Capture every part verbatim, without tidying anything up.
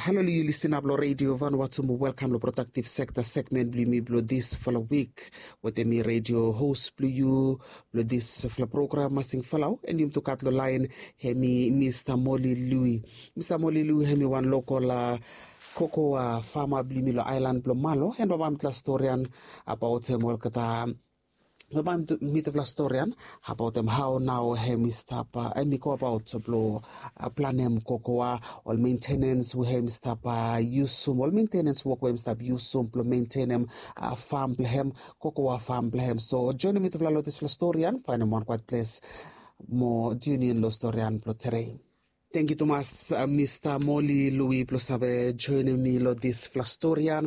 Halo yu lisin ap long redio Vanuatu mo welkam long prodaktiv sekta segmen blong yumi blong disfala wik. Wetem mi redio hos blong yu blong disfala program Masing Falau, en yumi tu gat long laen hemi Mista Moli Lui. Mista Moli Lui hemi wan lokol kokoa fama blong yumi long aelan blong Malo, en baba mitufala storian abaot hem olgeta. Baba mitufala storian abaot hem hao nao hemi stap, hemi go abaot blong planem kokoa, ol mentenens we hemi stap yusum, ol mentenens wok we hemi stap yusum blong mentenem fam blong hem, kokoa fam blong hem. So joenem mitufala long disfala storian, faenem wan kwaet ples mo tiunin long storian blong tede. Tengiu tumas, Mista Moli Lui, blong save joenem mi long disfala storian.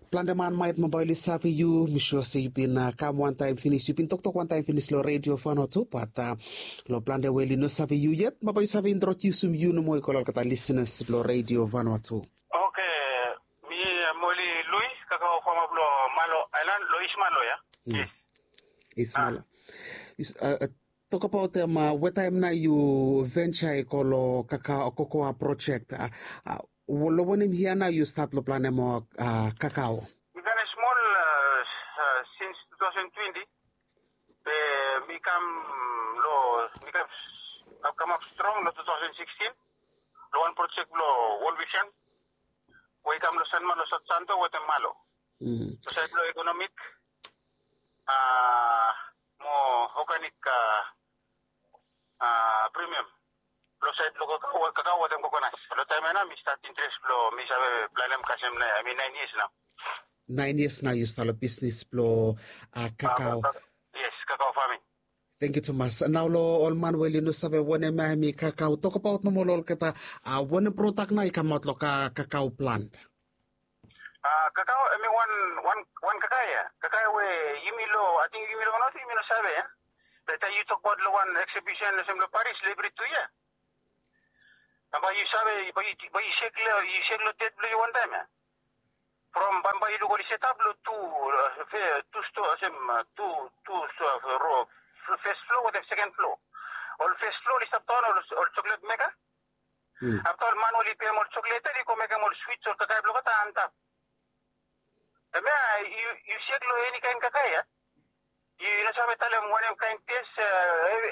Plante man maet bambae oli save yu, mi sua se yu bin kam wantaem finis, yu bin toktok wantaem finis long redio Vanuatu, bat long plante we oli no save yu yet, bambae yu save introdiusim yu nomo i go long olgeta lisinas blong redio Vanuatu. Oke, mi Moli Lui, kakao fama blong Malo aelan, long Is Malo ya. Is Malo. Tokabaot hem, wetaem nao yu venja i go long kakao kokoa projek, long wanem yia nao yu stat long planem kakao? Mi ganem smol sins two thousand twenty, be mi kam long, mi kam kamap strong long two thousand sixteen long wan projek blong World Vision we i kam long Sanma long South Santo wetem Malo. Long saed blong ekonomik mo oganik premium. Long saed blong kakao, kakao wetem kokonas. Long taem ya nao mi stat interes blong mi save planem kasem, I mean, naen yias nao. Naen yias nao yu stat long bisnis blong kakao. Yes, kakao faming. Tengiu tumas. Nao long ol man we oli no save wanem ya hemi kakao, tokabaot nomo long olgeta, wanem prodak nao i kamaot long kakao plant? Kakao hemi wan, wan, wan kakae ya. Kakae we yumi long, ating yumi long Vanuatu yumi no save ya. Be taem yu tokbaot long wan eksibisen olsem long Paris long evri tu yia, bambae yu save, bae yu, bae yu sek long, yu sek long det blong yu wantaem ya. From bambae yu luk oli setap long tu, tu stoa, olsem tu, tu stoa, ro, fes flo wetem seken flo. Ol fes flo oli stap daon ol, ol joklet meka. Afta ol man oli pem ol joklet ya oli go mekem ol swits, ol kakae blong olgeta antap. Hemia yu, yu sek long eni kaen kakae ya. Yu no save talem wanem kaen tes,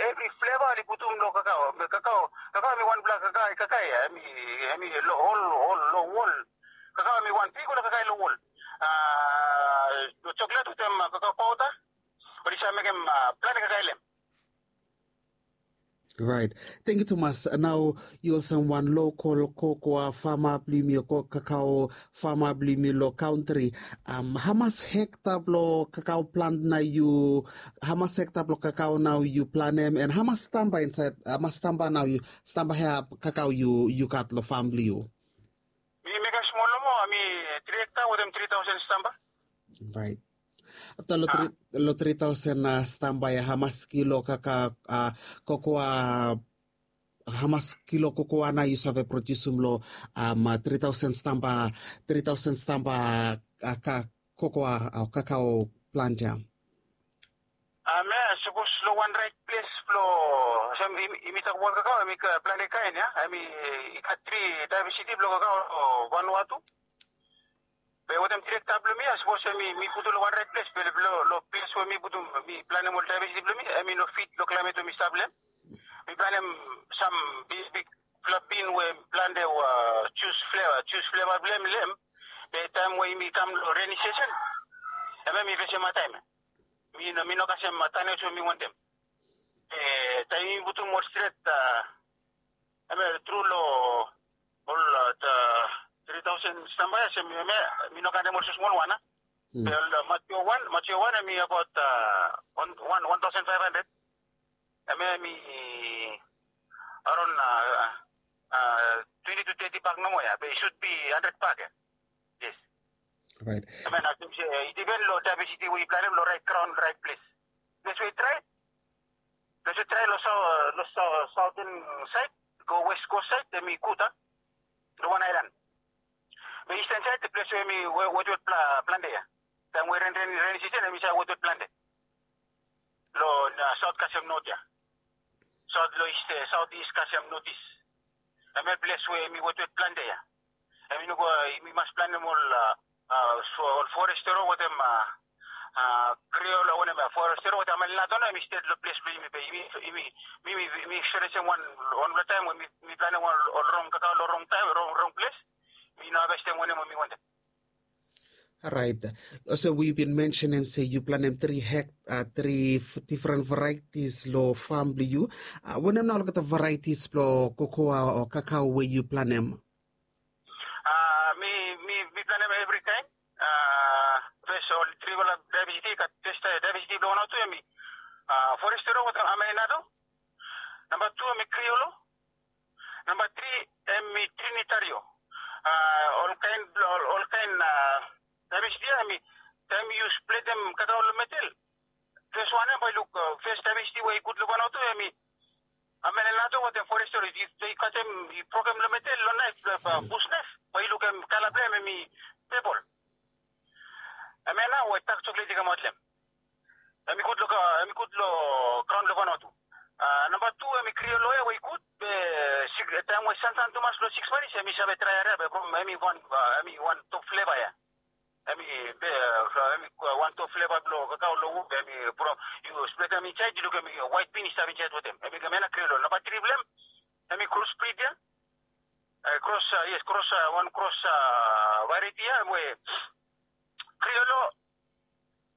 evri fleva oli putum long kakao. Kakao, kakao hemi wanfala kakae, kakae ya, hemi, hemi long ol, ol, long wol. Kakao hemi wan bigfala kakae long wol. Joklet wetem kakao paoda, oli save mekem plante kakae long hem. Raet. Tengiu tumas. Nao yu olsem wan lokol kokoa fama blong yumi, o kakao fama blong yumi long kantri, hamas hekta blong kakao plant nao yu, hamas hekta blong kakao nao yu planem, and hamas stamba insaed, hamas stamba nao yu, stamba hea kakao yu, yu gat long fam blong yu? Mi mekem smol nomo, hemi tri hekta wetem tri taosen stamba. Raet. Afta long tri, long tri taosen stamba ya, hamas kilo kakao, kokoa, hamas kilo kokoa nao yu save prodiusim long tri taosen stamba, tri taosen stamba kokoa o kakao plant ya? Hemia sapos long wan raet ples blong, olsem yumi, yumi tokbaot kakao, hemi plante kaen ya, hemi i gat tri daevesiti blong kakao long Vanuatu. Be wetem tri hekta blong mi ya, sapos hemi, mi putum long wan raet ples, be long, long ples we mi putum, mi planem ol daevesiti blong mi, hemi no fit long klaemet we mi stap long hem. Mi planem sam bigbigfala bin we plante, jus fleva, jus fleva blong hem long hem. Be taem we yumi kam long reni sesen, hemia mi fesem hadtaem. Mi no, mi no kasem tane olsem we mi wantem. Taem yumi putum ol stret, hemia tru long ol tri taosen stamba ya, olsem hemia mi no kanem olsem smol wan. Be ol mature wan, mature wan hemi abaot wan, wan, wan taosen faef handred. Hemia hemi aron twenti tu teti bak nomo ya, be i sud bi handred bak ya. Yes. Raet. Hemia nao olsem se i dipen long daevesiti we i planem long raet graon, raet ples. Ples we i drae, ples we i drae long saoten saed go wes kos saed, hemi gud a, long wan aelan. Be isten saed, ples we hemi wetwet plante ya. Taem we ren, ren, reni sisen, hemi save wetwet plante. Long saot kasem not ya. Saot long is, saot is kasem not is. Hemia ples we hemi wetwet plante ya. Hemi no go, hemi mas planem ol, a, a, so ol forestero wetem, a, a, kriolo, wanem ya, forestero wetem amelinato, hemi sted lo ples blo yumi be yumi, yumi, yumi, yumi eksperensem wan, wanpela taem we mi, mi planem ol, ol rong kakao lo rong taem, rong, rong ples. Mi no havestem wanem we mi wantem. Orait. Olsem we yu bin mensenem se yu planem tri hek, a, tri difren varieties lo fam blo yu. A, wanem nao olgeta varieties blo kokoa o kakao we yu planem? A, mi, mi, mi planem evri kaen. A, fes ol trifala diversity, gat fes diversity blo wan o tu hemi, a, forestero wetem amelinato. Namba tu hemi kriolo. Namba tri hemi trinitario. A, olkaen, ol, olkaen, a, diversity ya hemi, taem yu spletem kakao lo medel, fes wan ya bae yu luk, a, fes diversity we i gud lo wan o tu hemi amelinato wetem forestero. Yu, yu katem, yu brokem lo medel lo naef, a, bus naef, bae yu luk hemi kala blo hem hemi pepol. Hemia nao we dak soklet i kamaot lo hem. Hemi gud lo, hemi gud lo graon lo Vanuatu. A, namba tu hemi kriolo ya we i gud, be, sik, taem we sansan tumas lo sikis manis, hemi save drae aria, be from hemi wan, a, hemi wan top fleva ya. Hemi, be, a, hemi, a, wan top fleva blo kakao lo wud, hemi from, yu spletem insaed, yu luk hemi waet bin i stap insaed wetem. Hemi, hemia nao kriolo. Namba tri blo hem, hemi crossbreed ya. E, cross, a, yes, cross, a, wan cross, a, variety ya we kriolo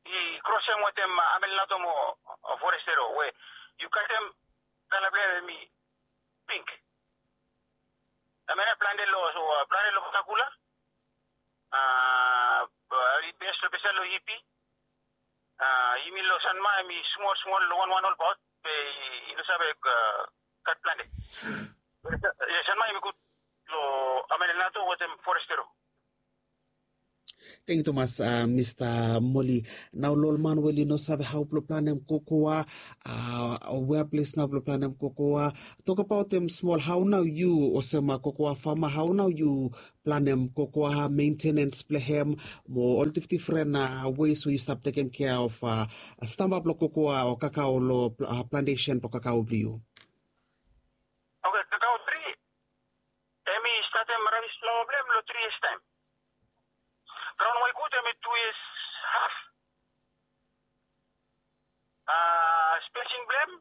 i krosem wetem, a, amelinato mo, a, forestero we yu katem kala blo hem hemi pink. Hemia nao plante lo, so, a, plante lo Pascagoula. A, a, i bes lo, bes lo Ipi. A, yumi lo Sanma hemi smol, smol lo wanwan olbaot, be i, i no save, a, gat plante. Yes, Sanma hemi gud lo amelinato wetem forestero. Tangkiu tumas, a, Mista Moli. Nao lo ol man we oli no save hao blo planem kokoa, a, wea ples nao blo planem kokoa. Tokbaotem smol, hao nao yu olsem, a, kokoa fama, hao nao yu planem kokoa, mentenens blo hem, mo ol difdifren, a, ways we yu stap tekem kea of, a, stamba blo kokoa o kakao lo, a, plantesen blo kakao blo yu? Oke, kakao tri, hemi statem rabis flaoa blo hem lo tri yias taem. Graon we i gud hemi tu yias haf. A, spesing blo hem,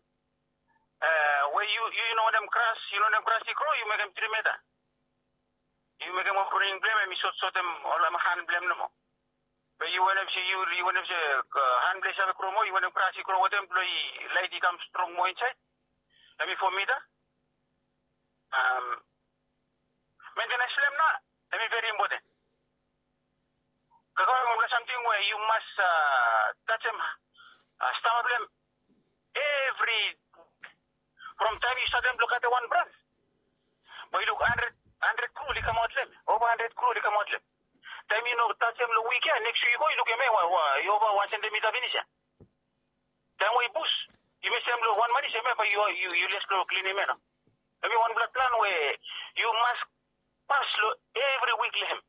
e, we yu, yu, yu no wantem gras, yu no wantem gras i gro, yu mekem tri mita. Yu mekem wan pruning blo hem, hemi sot, sotem ol hem han blo hem nomo. Be yu wantem se, yu, yu wantem se, a, han blo hem i save gro moa, yu wantem gras i gro wetem blo i laet i kam strong moa insaed. Hemi fo mita. Am, mentenens blo hem nao hemi veri impoten. Kakao hemi wanpela samting we yu mas, a, tajem, a, stamba blo hem evri, from taem yu statem blo katem wan brans, bae yu luk handred, handred krul i kamaot lo hem, ova handred krul i kamaot lo hem. Taem yu no tajem lo wik ya, neks wik i go yu lukim hemia, wa, wa, i ova wan sentimita finis ya. Taem we i bus, yu mestem lo wan manis, hemia bae yu, yu, yu les lo klinim ya nao. Hemi wanpela plan we yu mas pas lo evri wik lo hem.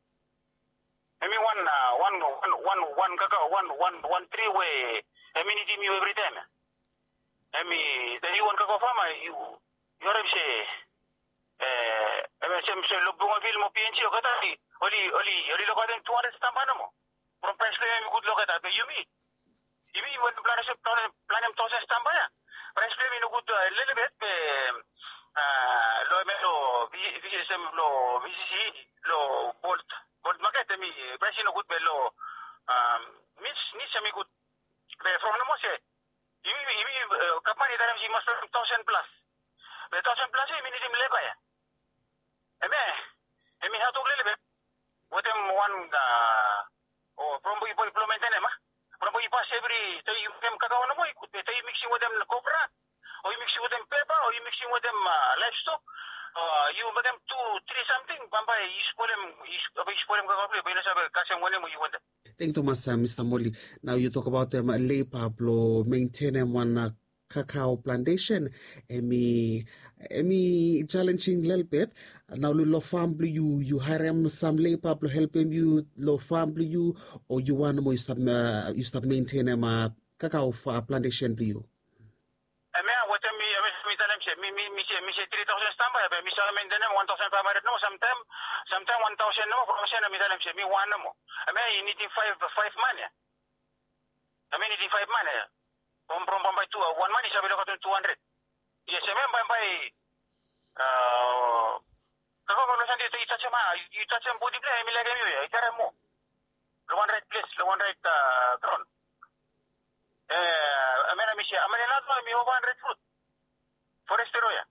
Hemi wan, a, wan, wan, wan, wan kakao, wan, wan, wan tri we hemi nidim yu evritaem ya. Hemi, taem yu wan kakao fama, yu, yu harem se, e, hemi sem se lo Bougainville mo P N G olgeta oli, oli, oli, oli lokaotem tu handred stamba nomo. From praes blo hem hemi gud lo olgeta, be yumi, yumi we yu planem, planem, planem taosen stamba ya, praes blo hem i nogud, a, lelebet, be, a, lo hemia lo V-, V S M, lo V C C, lo Bolt, Bolt maket hemi praes i nogud, be lo, am, Niche, Niche hemi gud. Be from nomo se yumi, yumi, e, gavman i talem se yu mas planem taosen plas. Be taosen plas ya yumi nidim leba ya. Hemia, hemi hadwok lelebet wetem wan, a, o, from bae yu, bae yu blo mentenem, a. From bae yu pas evri taem yu mekem kakao nomo i gud, be taem yu miksim wetem kopra, o yu miksim wetem peba, o yu miksim wetem, a, laevstok, o yu mekem tu, tri samting, bambae yu spolem, yu sp-, bae yu spolem kakao blo yu, bae yu no save kasem wanem we yu wantem. Tangkiu tumas, a, Mista Moli. Nao yu tokbaotem, a, leba blo mentenem wan, a, kakao plantesen, hemi, hemi jalenjing lelebet. Nao lo, lo fam blo yu, yu haerem sam leba blo helpem yu lo fam blo yu, o yu wan nomo yu stap, a, yu stap mentenem, a, kakao, a, plantesen blo yu? Hemia wetem mi, hemia mi talem se mi, mi, mi se Mi se tri taosen stamba ya, be mi save mentenem wan taosen faef handred nomo, samtaem, samtaem wan taosen nomo, from sen mi talem se mi wan nomo. Hemia i nidim faef, faef man ya. Hemia i nidim faef man ya. From, from bambae tu, wan man i save lukaotem tu handred. Yes, hemia bambae, a, kakau, kakau lo sande, yu tajem, a, yu tajem bodi blong hem, i laekem yu ya, i karem moa. Lo wan raet ples, lo wan raet, a, graon. E, hemia nao mi se, hemia nao hemi ova handred frut. Forest area ya.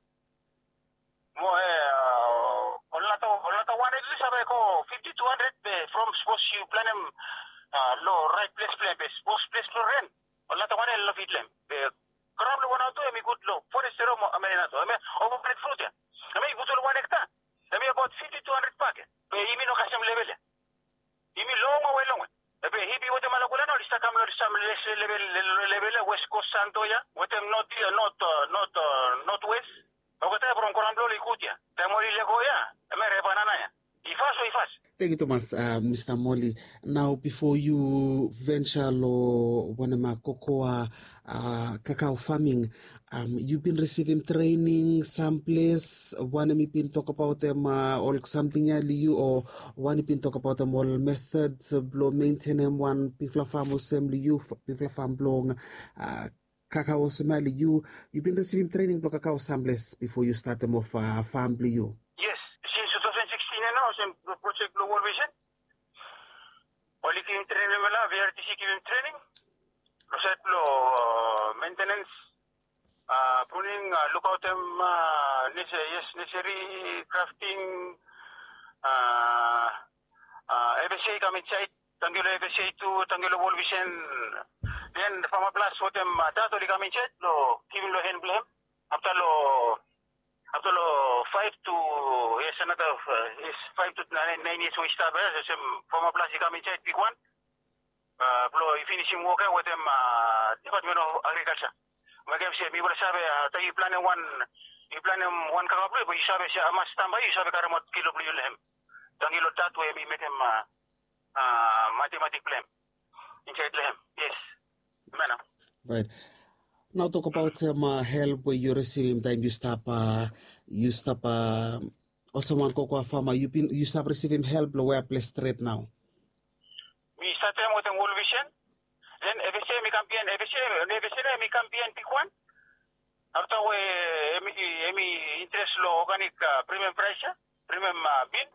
Mo, e, a, ol nata, ol nata wan handred tu save go fifti, tu handred, be from sapos yu planem, a, lo raet ples blong hem, be sapos ples blo ren, ol nata wan handred lo fit long hem. Be graon blo wan nao tu hemi gud lo forest area mo hemia nao tu. Hemia ova handred frut ya. Hemia i gud lo wan hekta. Hemi abaot fifti, tu handred pak ya. Be yumi no kasem level ya. Yumi longwe, longwe. Be hemi wetem Malakula nao oli stap kam lo sam les level, level ya, West Coast Santo ya, wetem North, North, North, North West. Olgeta ya from graon blo oli gud ya. Taem oli lego ya, hemia rebana nao ya. I fas o i fas. Tangkiu tumas, a, Mista Moli. Nao bifo yu venture lo wanem, a, kokoa, a, kakao farming, yu bin risivim trening samples, wanem i bin tokbaot hem, a, ol samting ya lo yu, o wanem i bin tokbaot hem ol methods blo mentenem wan bigfala fam olsem lo yu, bigfala fam blong, a, kakao olsem ya lo yu, yu bin risivim trening blo kakao samples bifo yu statem of, a, fam blo yu? Yes, sins tu taosen sikstin ya nao olsem projek blo World Vision. Oli givim trening long hem ya, V R T C givim trening lo saed blo, a, maintenance, a, pruning, a, lukaotem, a, nursery, yes, nursery, grafting, a, a, F S A i kam insaed, tangkiu lo F S A tu, tangkiu lo World Vision. Den Farmer Plus wetem, a, dat oli kam insaed blo givim lo hen blo hem. Afta lo, afta lo faef tu, yes, anata, a, yes, faef tu naen, naen yias we i stap ya, olsem Farmer Plus i kam insaed bigwan, a, blo i finisim wok ya wetem, a, Department of Agriculture. Mekem se mifala save, a, taem yu planem wan, yu planem wan kakao blo yu, be yu save se hamas stamba yu save karemaot kilo blo yu lo hem. Tangkiu lo dat we hemi mekem, a, a, matematik blo hem insaed lo hem. Yes. Hemia nao. Raet. Nao tokbaot, a, help we yu risivim taem yu stap, a, yu stap, a, olsem wan kokoa fama, yu bin, yu stap risivim help lo wea ples stret nao? Mi statem wetem World Vision. Den F S A hemi kam biaen, F S A, F S A nao hemi kam biaen bigwan. Afta we hemi, hemi interes lo organic, a, premium price ya, premium, a, bean.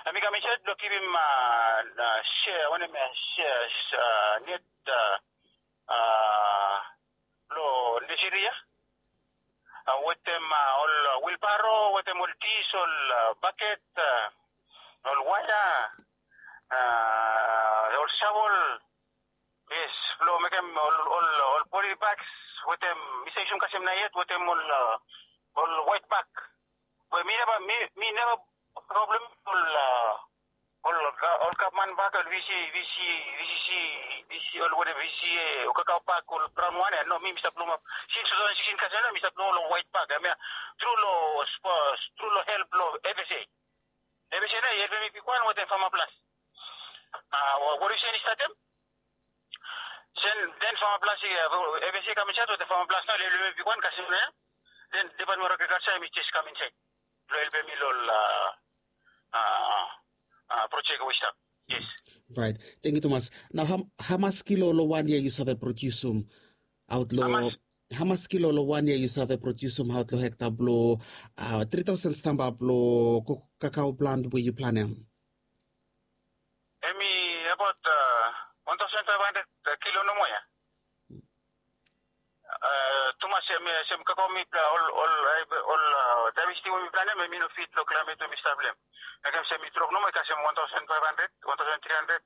Hemi kam insaed blo givim, a, a, sea, wanem, a, sea, a, net, a, a, lo nursery ya. A, wetem, a, ol, a, wheelbarrow, wetem ol dis, ol, a, baket, a, ol waea, a, ol shovel, yes, blo mekem ol, ol, ol poly bags, wetem, mi save yusum kasem naet, wetem ol, a, ol white bag. Be mi neva, mi, mi neva problem ol, a, ol, a, ol gavman bag, ol V C, V C, V C C, V C, ol wanem, V C A, ol kakao bag, ol braon wan ya, no, mi, mi stap luk, sins tu taosen sikstin kasem nao, mi stap luk ol white bag, hemia tru lo, tru lo help lo F S A. F S A nao i helpem mi bigwan wetem Farmer Plus. A, World Vision i statem. Sen den Farmer Plus, a, F S A i kam insaed wetem Farmer Plus nao, oli helpem mi bigwan kasem nao ya. Den Department of Agriculture hemi jes kam insaed blo helpem mi lo ol, a, a, a, projek we i stap. Yes. Raet. Tangkiu tumas. Nao, ham-, hamas kilo lo wan yia yu save prodiusum aot lo, hamas kilo lo wan yia yu save prodiusum aot lo hekta blo, a, tri taosen stamba blo ko-, kakao plant we yu planem? Hemi abaot, a, wan taosen faef handred, a, kilo nomo ya. A, tumas, hemi, hemi kakao mi pla-, ol, ol, a, ol, a, diversity we mi planem, hemi no fit lo klaemet we mi stap lo hem. Mekem se mi drop nomo, i kasem wan taosen faef handred, wan taosen tri handred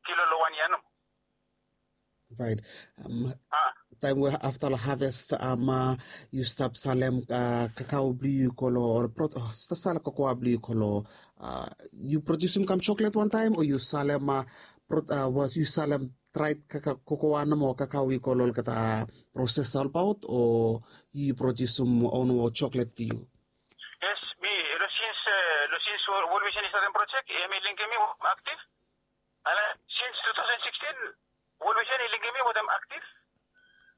kilo lo wan yia nomo. Raet. Am, taem we afta lo haves, am, a, yu stap salem, a, kakao blo yu i go lo, ol pro-, o, stap salem kokoa blo yu i go lo, a, yu prodiusum kam joklet wantaem, o yu salem, a, pro-, a, was yu salem draed kaka-, kokoa nomo, kakao i go lo olgeta prosesa olbaot, o yu prodiusum o nomo joklet blo yu? Yes, mi, ever since, e, ever since Wo-, World Vision i statem projek, hemi linkem mi aktiv. Ala, since two thousand sixteen, World Vision i linkem mi wetem aktiv.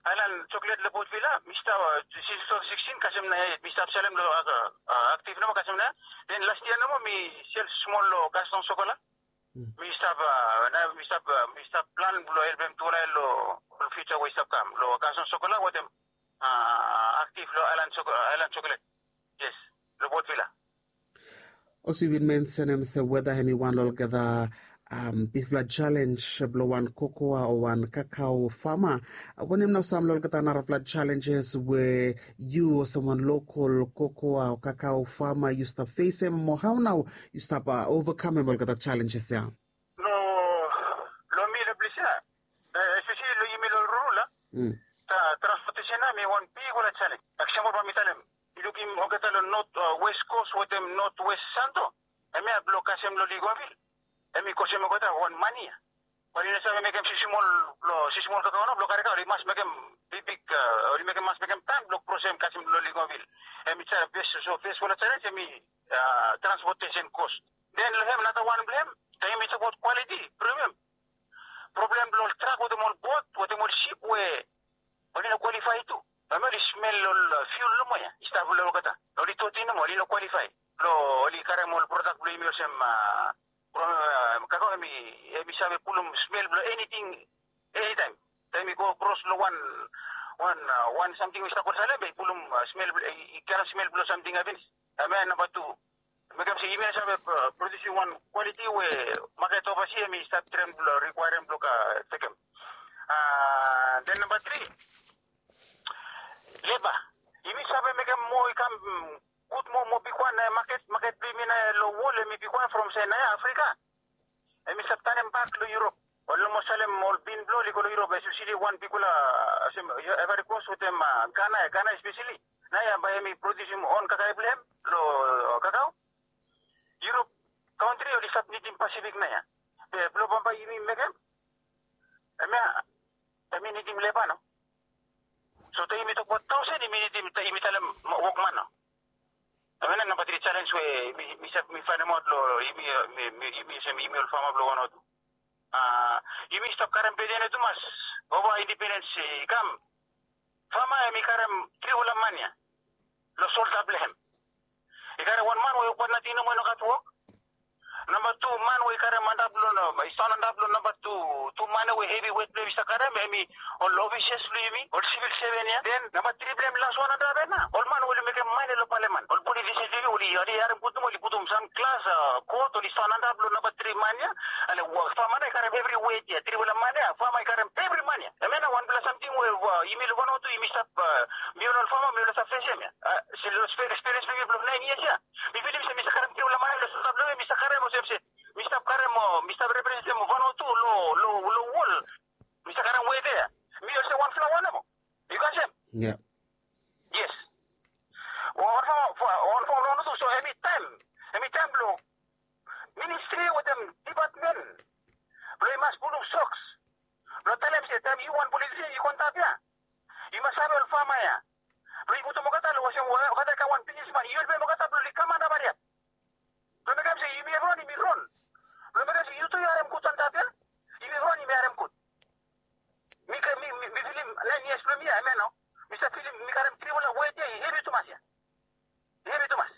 Aelan choklet long Port Vila mi stap, sins tu taosen sikstin kasem nao ya yet mi stap selem long aktif nomo kasem nao ya. Den las yia nomo mi sel smol long Gaston Sokola. Mi stap, nao mi stap plan blong helpem tufala ya long ol fiuja we i stap kam long Gaston Sokola wetem aktif long Aelan Choklet. Yes, long Port Vila. Olsem yu bin mensenem se weda hemi wan long olgeta bigfala jalenj blong wan kokoa o wan kakao fama. Wanem nao sam long olgeta narafala jalenjes we yu olsem wan lokol kokoa o kakao fama yu stap fesem mo hao nao yu stap ovakamem olgeta jalenjes ya? Long mi long ples ya, espeseli long yumi long rurul ya, transpotesen ya mi wan bigfala jalenj. Eksampol bae mi talem, yu lukim olgeta long not wes kos wetem not wes santo, hemia blong kasem long Ligonvil, hemi kosem olgeta wan mane ya. Oli no save mekem sismol blong sismol kakao nao blong karem, oli mas mekem bigbig, oli mekem mas mekem tank blong krosem kasem long Ligonvil. Hemi save fes, so fesfala jalenj hemi transpotesen kos. Den long hem nara wan blong hem, taem mi tokbaot kwaliti, premium, problem blong ol trak wetem ol bot wetem ol sip we oli no kwalifai tu. Bae oli smel ol fiul nomo ya i stap long olgeta, oli toti nomo, oli no kwalifai blong oli karem ol prodak blong yumi olsem kakao hemi save pulum smel blong eniting enitaem. Taem i go kros long wan, wan, wan samting we i stap go salem be i pulum smel, i karem smel blong samting ya finis. Hemia namba tu, mekem se yumi no save produsim wan kwaliti we maket ovasi hemi stap traem blong rikwaerem blong tekem. Den namba tri, leba. Yumi save mekem moa i kam gud moa, moa bigwan nao ya maket, maket blong yumi nao ya long wol hemi bigwan from se nao ya Afrika hemi stap tanem bak long Yurop. Oli no moa salem ol bin blong oli go long Yurop, espeseli wan bigfala olsem Ivory Coast wetem Gana ya, Gana espeseli. Nao ya bae hemi produsim on kakae blong hem long kakao. Yurop kantri oli stap nidim Pasifik nao ya. Be blong bambae yumi mekem, hemia hemi nidim leba nao. So taem yumi tokbaot taosen yumi nidim, yumi talem wokman nao. Hemia nao namba tri jalenj we mi, mi save, mi faenemaot long yumi, yumi olsem yumi ol fama blong Vanuatu. Yumi stap karem beden ya tumas. Ova indipendens i kam, fama hemi karem trifala man ya long solda blong hem. I karem wan man we wokbaot nating nomo i no gat wok. Namba tu man we i karem antap long, i staon antap long namba tu, tu man ya we hevi wet blong hem i stap karem hemi ol ofisas blong yumi, ol sivil seven ya. Den namba tri blong hem, las wan antap ya nao, ol man we oli mekem mane long paleman, ol politisen blong yumi, oli harem gud nomo, oli putum sam glas, kot, oli staon antap long namba tri man ya. Ale fama nao i karem evri wet ya, trifala man ya, fama i karem evri man ya. Hemia nao wanfala samting we yumi long Vanuatu yumi stap, mifala ol fama mifala stap fesem ya. Long eksperiens blong mi blong naen yias ya, mi filim se mi stap karem trifala man ya long solda blong mi, mi stap karem olsem se mi stap karem o mi stap representem Vanuatu long, long, long wol. Mi stap karem weta ya. Mi olsem wanfala wan nomo. Yu kasem? Yes. Wan fama, wan fama blong Vanuatu, so hemi taem, hemi taem blong ministri wetem dipatmen blong i mas pulum soks blong talem se taem yu wan politisen yu go antap ya, yu mas save ol fama ya blong yu putum olgeta long olsem olgeta i kam wan bisnisman, yu helpem olgeta blong oli kam antap hariap. Blong mekem se yumi evriwan yumi ron. Blong mekem se yu tu yu harem gud antap ya. Yumi evriwan yumi harem gud. Mi, mi, mi filim naen yias blong mi ya, hemia nao mi stap filim mi karem trifala wet ya i hevi tumas ya. I hevi tumas.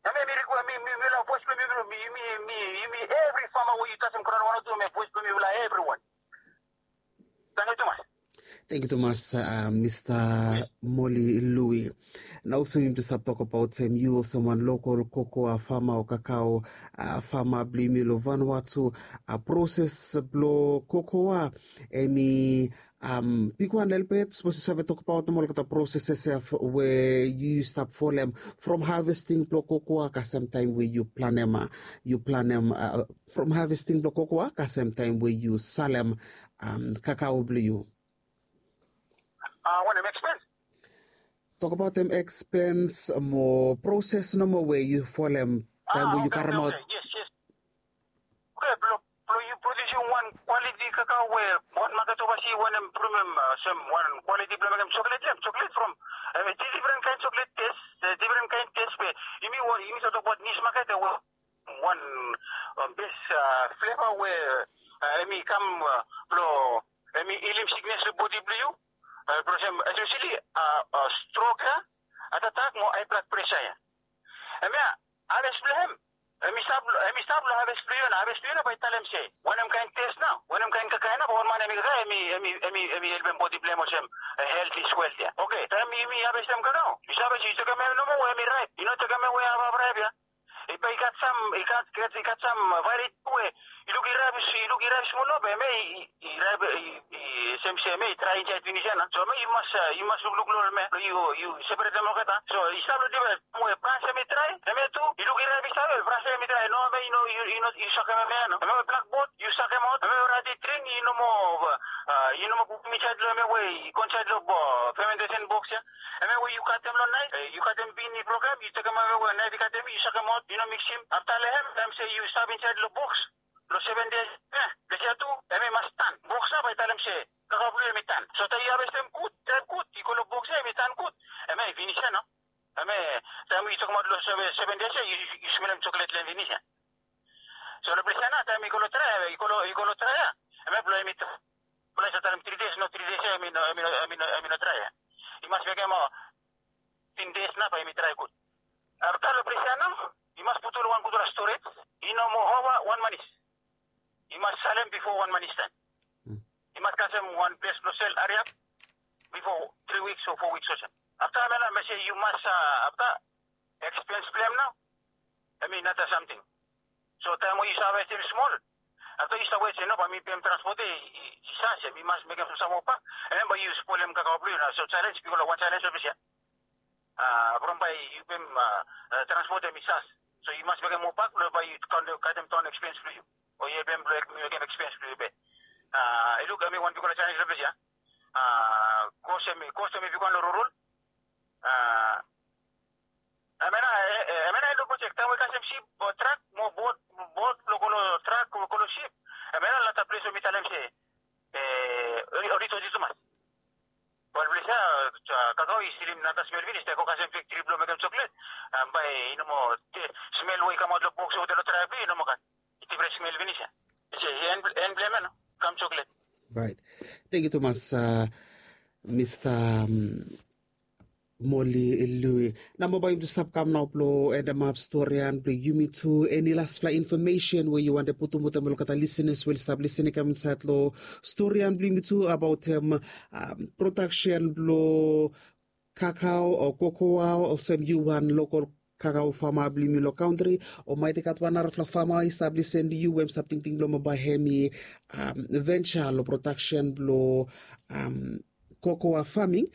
Hemia mi rikwe, mi, mi, mifala boes blong mi, mi, mi, mi, yumi evri fama we yu kasem graon Vanuatu, hemia boes blong mifala evriwan. Tangkiu tumas. Tangkiu tumas, Mista Moli Lui. Nao olsem yumi tu stap tokbaot se yu olsem wan lokol kokoa fama o kakao fama blong yumi long Vanuatu, proses blong kokoa hemi bigwan lelebet. Sapos yu save tokbaot nomo olgeta proses ya we yu stap folem from havesting blong kokoa kasem taem we yu planem, yu planem from havesting blong kokoa kasem taem we yu salem kakao blong yu. Wanem ekspens? Tokbaotem ekspens mo proses nomo we yu folem taem we yu karemaot. Yes, yes. Oke, blong, blong yu produsim wan kwaliti kakao we wan maket ovasi wantem pulum hem olsem wan kwaliti blong mekem choklet ya, choklet from, hemi difren kaen choklet tes, difren kaen tes be yumi, yumi save tokbaot nis maket ya we wan bes fleva we hemi kam blong hemi hilim siknes long bodi blong yu. Bro, olsem especially strok ya, heart attack mo high blood pressure ya. Hemia, harvest blong hem, hemi stap long harvest blong yu ya. Harvest blong yu ya bae talem se wanem kaen test nao, wanem kaen kakae nao bae ol man hemi kakae, hemi helpem bodi blong hem olsem health is wealth ya. Oke, taem yumi harvestem kakao, yu save se yu tekem hem nomo we hemi raep. Yu no tekem hem we hafhaf raep ya. I gat sam, i gat sam variety we i luk i raep, i luk i raep smol nao be hemia i raep, i sem se hemia i drae insaed finis ya nao. So hemia yu mas, yu mas lukluk long ol hemia blong yu separetem olgeta. So i stap long difren we brans hemi drae, hemia tu i luk i raep i stap, brans hemi drae, no hemia yu no, yu sakem hemia ya nao. Hemia we blak bot yu sakemaot, hemia we rat i dring, yu no moa, yu no moa putum insaed long hemia we i go insaed long fermentation box ya. Hemia we yu katem long naef, yu katem bin i broken, yu tekem hemia we naef i katem, yu sakemaot, yu no miksim. Afta long hem, taem se yu stap insaed long box long seven days, ples ya tu hemi mas tan. Box nao bae talem se kakao blong yu hemi tan. So taem yu harvestem gud, drae gud, i go long box ya hemi tan gud, hemia i finis ya nao. Hemia taem yu tokemaot long seven days ya, yu smelem chocolate long hem finis ya. So long ples ya nao taem i go long drae, i go long drae ya, hemia blong hemi drae. Blong hemi talem three days, no, three days ya hemi no drae ya. I mas mekem fifteen days nao bae hemi drae gud. Afta long ples ya nao i mas putum long wan gudfala storage. I no moa ova wan manis. I mas salem bifo wan manis taem. I mas kasem wan ples blong sel hariap bifo three weeks o four weeks olsem. Afta hemia nao hemi se yu mas, afta ekspens blong hem nao hemi nara samting. So taem we yu save harvestem smol, afta yu stap wet se no, bae mi pem transpot ya, i sas ya, mi mas mekem sam moa bak, and then bae yu spolem kakao blong yu nao. So jalenj, bikos wan jalenj long ples ya from bae yu pem transpot ya hemi sas. So yu mas mekem moa bak blong bae yu katem daon ekspens blong yu, o yu helpem blong mekem ekspens blong yu bek. I luk hemi wan bigfala jalenj long ples ya. Kos hemi, kos hemi bigwan long rurul. Hemia nao, hemia nao i luk olsem taem we yu kasem sip o trak mo bot, bot blong go long trak o go long sip, hemia nao nara ples we mi talem se oli doti tumas. Ol ples ya kakao i stilim nara smel finis, taem yu go kasem fektri blong mekem choklet, bae i no moa, smel we i kamaot long boks o long drae blong yu i no moa gat. I difren smel finis ya. I se i en blong hem ya nao, kam choklet. Raet. Tangkiu tumas, Mista Moli Lui. Nao bae yumi tu stap kam nao blong endemap storian blong yumi tu. Eni lasfala infomesen we yu wantem putum wetem olgeta lisenas we oli stap lisening kam insaed long storian blong yumi tu abaotem prodaksen blong kakao o kokoa, olsem yu wan lokol kakao fama blong yumi long kantri, o maet i gat wan narafala fama i stap lisening long yu we hemi stap tingting blong bae hemi venture long prodaksen blong kokoa faming.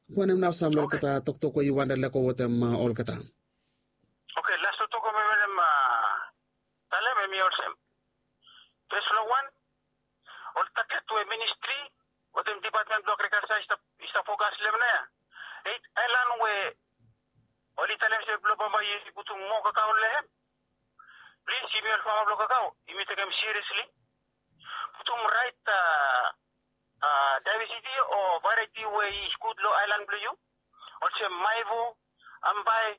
Wanem nao sam long olgeta toktok we yu wantem lego wetem olgeta? Oke, las toktok we mi wantem talem hemi olsem. Fes long wan, ol taget we ministri wetem dipatmen blong agrikalja i stap fokas long hem nao ya. Eit aelan we oli talem se blong bambae yumi putum moa kakao long hem. Plis, yumi ol fama blong kakao yumi tekem siriesli. Putum raet daevesiti o varieti we i gud long aelan blong yu, olsem Maivu, Ambae,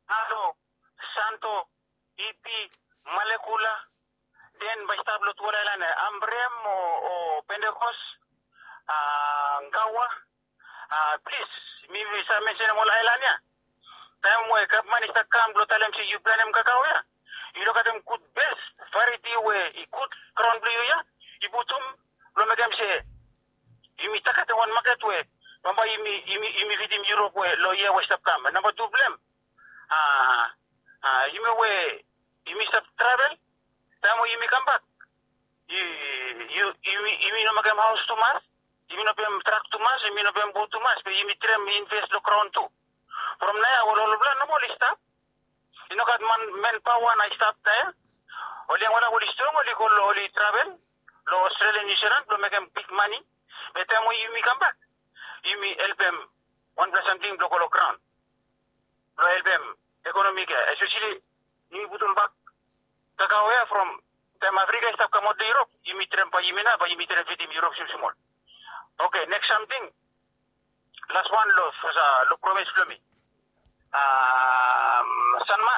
Alo, Santo, Ipi, Malekula. Den bae i stap long tuol aelan ya, Ambrem o Pentekos, Gaua. Plis, mi save mensenem ol aelan ya. Taem we gavman i stap kam blong talem se yu planem kakao ya, yu lukaotem gud bes varieti we i gud graon blong yu ya, yu putum blong mekem se yumi tagetem wan maket we bambae yumi fidim Europe we long yia we i stap kam. Namba tu blong hem, yumi we yumi stap travel, taem we yumi kambak, yumi no mekem haos tumas, yumi no pem trak tumas, yumi no pem bot tumas, be yumi traem inves long graon tu. From nao ya ol olpela nomo oli stap. I no gat manpaoa nao i stap nao ya. Ol yangfala we oli strong oli go long, oli travel long Australia, New Zealand blong mekem bigmane. Be taem we yumi kambak, yumi helpem wanpela samting blong go long graon blong helpem ekonomi ya, espeseli yumi putum bak kakao ya from taem Afrika i stap kamaot long Europe, yumi traem bae yumi nao bae yumi traem fidim Europe smolsmol. Oke, neks samting, las wan long promis blong mi. Sanma,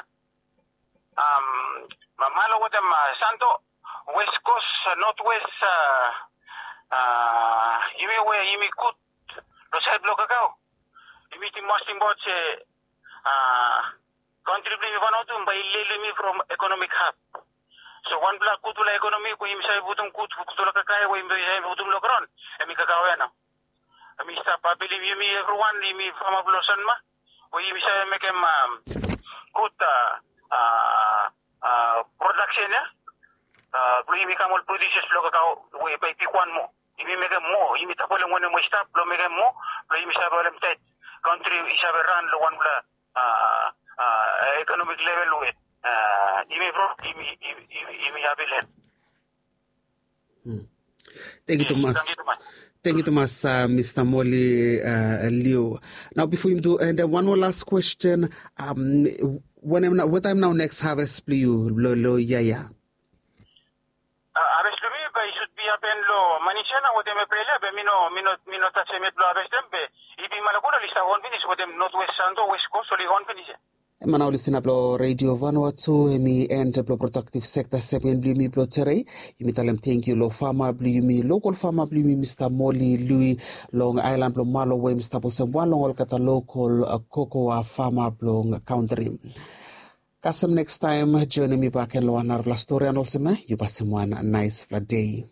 Malo wetem Santo, West Coast, North West, a, yumi we yumi gud lo saed blo kakao, yumi tim mas tim baot se, a, kantri blo yumi Vanuatu bae i lele yumi from ekonomik hab. So wanpela gudfala ekonomi we yumi save putum gud, gudfala kakae we yumi save putum lo graon, hemi kakao ya nao. Hemi stap apelim yumi evriwan, yumi fama blo Sanma, we yumi save mekem, am, gud, a, a, a, prodaksen ya, a, blo yumi kam ol producers blo kakao we bae i bigwan moa. Yumi mekem moa, yumi tapolim wanem we i stap blo mekem moa, blo yumi save holem taet. Kantri i save ran lo wanpela, a, a, ekonomik level we, a, yumi bro, yumi, yumi, yumi, yumi apelim. Thank you, Thomas. Thank you, Thomas, uh, Mister Moli, uh, Liu. Now, before you do, and uh, one more last question. Um, when I'm now, what time now next harvest blo yu, lo, lo, yeah, yeah. Uh, harvest blo mi, but it should be happen lo Manisha na wetem April, but mi no, mi no, mi no touch him yet lo harvest them, but if he Malakula, lista on finish wetem Northwest Santo, West Coast, oli on finish. Ema na ol listener blo Radio Vanuatu, hemi end blo productive sector segment blo yumi blo tere. Yumi talem thank you lo fama blo yumi, local fama blo yumi, Mister Moli Lui, long aelan blo Malo, we hemi stap olsem wan long olgeta local, a, kokoa fama blo kantri. Kasem next time, joinim mi bak gen lo wan narafala stori, and olsem, e, yu pasim wan naesfala dei.